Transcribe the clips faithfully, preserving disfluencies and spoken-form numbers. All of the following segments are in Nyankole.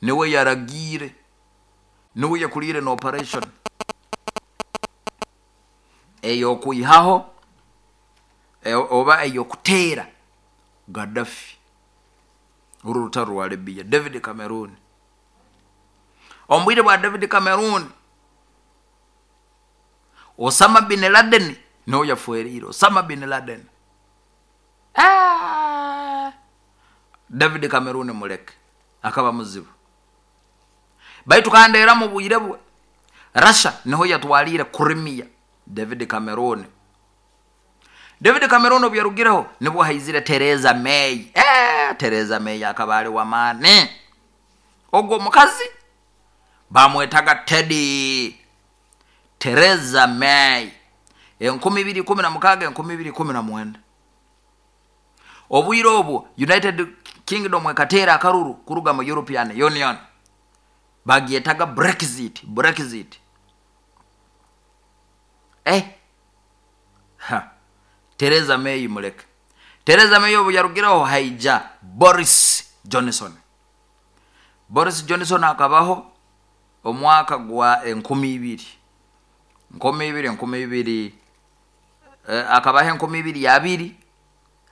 Niwe yaragiire, niwe yakuliire na operation ey'okwihaho e- oba ey'okuteera Gaddafi. Oru rutaro rwa Libya. David Cameroon, omu bwire bwa David Cameroon, Osama bin Laden niwe yafweriire. Osama bin Laden. Ah! David Cameroon muleke, akaba muzibu. Baitu kandi era mu bwire bwe Russia niho yatwaliire Crimea. David Cameroon, David Cameroon obu yarugireho, nibwo haizire Theresa May. Eh, Theresa May akaba ali w'amaani. Ogwo omukazi bamwetaga Teddy. Theresa May, enkumi ibiri ikumi na mukaaga, enkumi ibiri ikumi na mwenda. Obwire obwo United Kingdom ekateera akaruru kuruga mu European Union, bagyetaga Brexit. Brexit. Eh, ha, Theresa May muleke. Theresa May obu yarugireho, haija Boris Johnson. Boris Johnson akabaho omwaka gwa enkumi ibiri, nkumi ibiri, enkumi ibiri, eh, akabaho enkumi ibiri abiri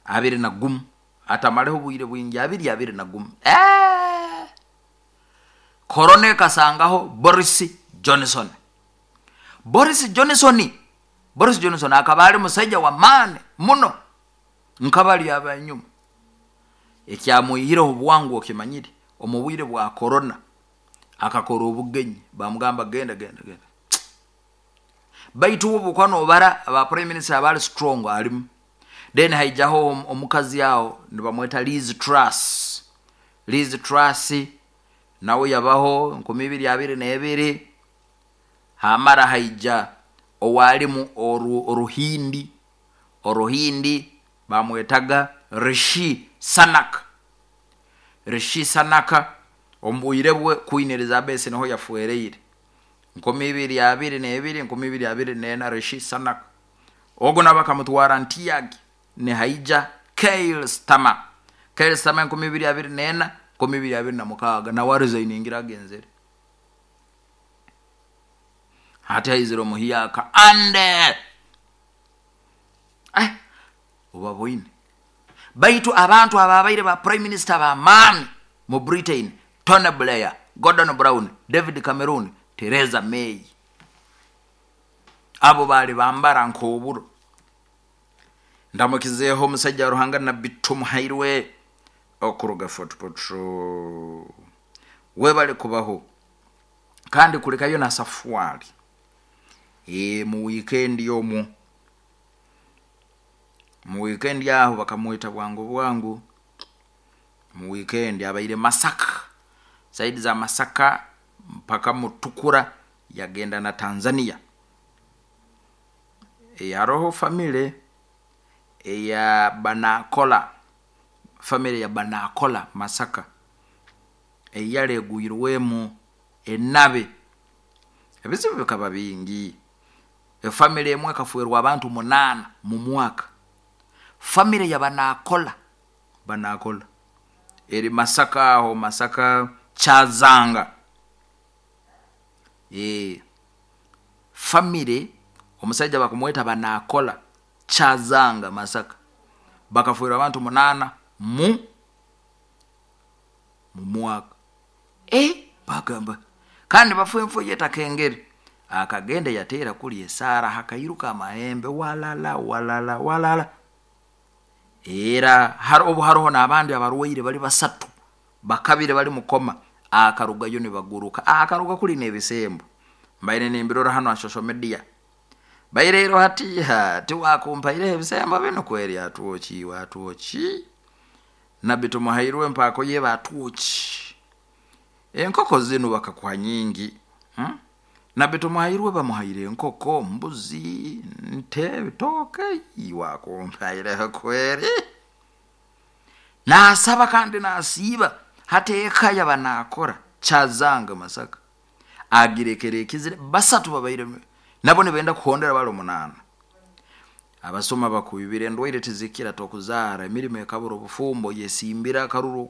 abiri na gumu. Atamaleho obwire bwingi, abiri abiri na gumu. Eh! Korona ekasangaho Boris Johnson. Boris Johnson, Boris Johnson akaba ali musaija wa maani muno nkabali abanyuma. Ekyamwihireho bwangu okimanyire? Omu bwire bwa korona akakora obugenyi, bamugamba, "Genda, genda, genda." Baitu obu nobara aba prime minister abali strong, alimu. Then haijaho om- omukazi aho nibamweta Liz Truss. Liz Truss nawe yabaho enkumi ibiri abiri n'ebiri. Hamara haija owalimu oru, oruhindi oruhindi bamwetaga Rishi Sunak. Rishi Sunak, omu bwire bwe Queen Elizabeth niho yafwereire, nkumi ibiri abiri n'ebiri, enkumi ibiri abiri n'ena. Rishi Sunak ogwo nabo bakamutwara ntiyagi. Nihaija Keir Starmer. Keir Starmer, enkumi ibiri abiri n'ena, enkumi ibiri abiri na mukaaga, nawe aresigningira, agenzere. Hati haizire omuhiyaka ande, eh, obaboine. Baitu abantu ababaire ba prime minister b'amaani mu Britain: Tony Blair, Gordon Brown, David Cameroon, Theresa May. Abo baali bambara nk'oburo. Ndamukizeeho omusajja wa Ruhanga Nabbi Tumuhairwe okuruga Fort Portal. Webale kubaho kandi kulekayo na safwali e, mu weekend omwo, mu weekend aho bakamwita bwangu bwangu. Mu weekend abaire Masaka, side za Masaka mpaka Mutukura, yagenda na Tanzania. E, haroho family eya Banakola, family ya Banakola Masaka, eyalegwirwemu enabe, ebizibu bikaba bingi. Efamily emwe ekafwerwa abantu munaana mu mwaka. Family ya Banakola, Banakola eri Masaka aho, Masaka Kyazanga. e, family omusajja bakumweta Banakola, Kyazanga, Masaka, bakafwerwa abantu munaana mu mu mwaka. E, bagamba kandi bafu enfu yetakengere. Akagenda yateera kuli esaara, hakairuka amahembe, walala walala walala. Era har, obu haroho n'abandi abarwaire bali basatu bakabire bali mukoma. Akarugayo nibaguruka, akaruga kuli n'ebisembo. Mbaire nimbirora hano ha social media. Bairero hatiha tiwakumpaireho ebisembo bino kweri. Atwoki atwoki Nabbi Tumuhairwe mpaako ye batwoki enkoko zinu bakakuha nyingi, hmm? Nabbi Tumuhairwe bamuhaire enkoko, mbuzi, nte, bitooke. Wakumpaireho kweri. Nasaba kandi nasiiba. Hati eka yaba nakora Kyazanga Masaka agirekera ekizire. Basatu babaire nabo nibenda kuhondera, bali omunaana. Abasoma bakwibire, endwaire tizikira, tokuzaara, emirimo ekabura, obufumbo yesimbira akaruru.